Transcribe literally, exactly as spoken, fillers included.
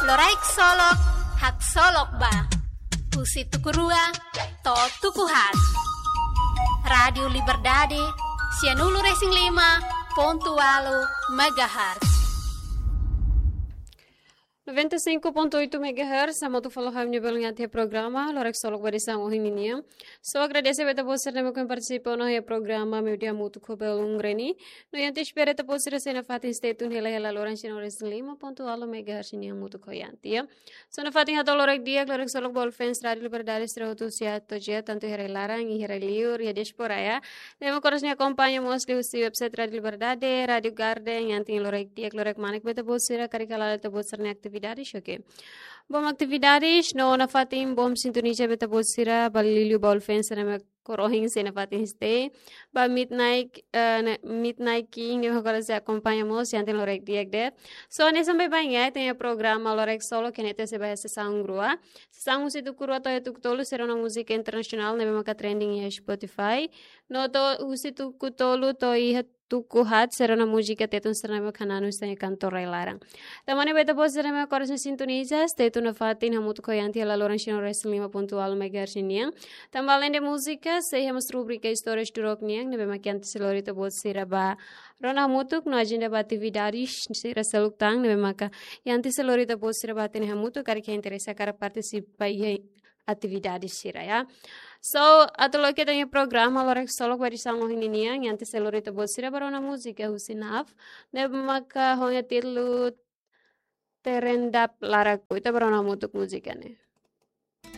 Loraik Solok, haksolok ba. Husi tuku rua to'o tuku haat. Rádiu Liberdade, sianulu-resin-lima pontu ualu megahertz. Noventa e cinco ponto oito megahertz, hamutuk fali ho ami-nia belun iha programa Loraik Solok ba edisaun ohin ninian. Só agradese ba ita-boot sira ne'ebé partisipa ona iha programa Meiudia Hamutuk ho belun Reni. No iha ita espera ita-boot sira sei nafatin stay tune hela-hela loron sianulu-resin-lima pontu ualu megahertz nian hamutuk ho iha ita. Só nafatin hato'o loraik di'ak, Loraik Solok ba all fans Rádiu Liberdade sira hotu sira to'o iha, tantu iha rai-laran, iha rai-liur, iha diáspora, ya. Ne'ebé mak oras ne'e akompaña mós liuhusi website Rádiu Liberdade, Rádiu Garden, iha ita loraik di'ak, loraik manek ba ita-boot sira, karik hala'o ita-boot sira-nia atividade, oke. Bom atividades, no nafatin bom sintoniza ba ita-boot sira, ba liuliu ba all fans sira ne'ebé korohin sei nafatin stay. Ba Midnight, eh, ne-, Midnight King, ne'ebé agora sei akompaña mós, iha ita loraik di'ak de'it. Só ne'e sampai ba iha ita-nia programa Loraik Solok, ne'e ita sei ba iha sesaun rua. Sesaun husi tuku rua to'o iha tuku tolu, sei rona múzika internasionál, ne'ebé maka trending iha Spotify. No to'o husi tuku tolu to'o iha tuku haat, sei rona múzika Tetun sira ne'ebé mak hananu iha kantor rai-laran. Tanba ne'e ba ita-boot sira ne'ebé oras ne'e sintoniza, stay tune nafatin hamutuk ho iha ita hela loron sianulu-resin-lima pontu ualu megahertz nian. Tanba além de múzika, sei iha mós rubrika Histórias do Rock nian, ne'ebé mak iha ita sei lori ita-boot sira ba rona hamutuk no ajenda ba atividades sira seluk tan, ne'ebé maka iha ita sei lori ita-boot sira ba hatene hamutuk, karik interese hakarak partisipa iha atividade sira, ya. So, atu loke ita-nia programa Loraik Solok ba edisaun ohin ninian, iha ita sei lori ita-boot sira ba rona múzika husi NAF, ne'ebé maka ho nia títulu Terendap Laraku, ita ba rona hamutuk múzika ne'e.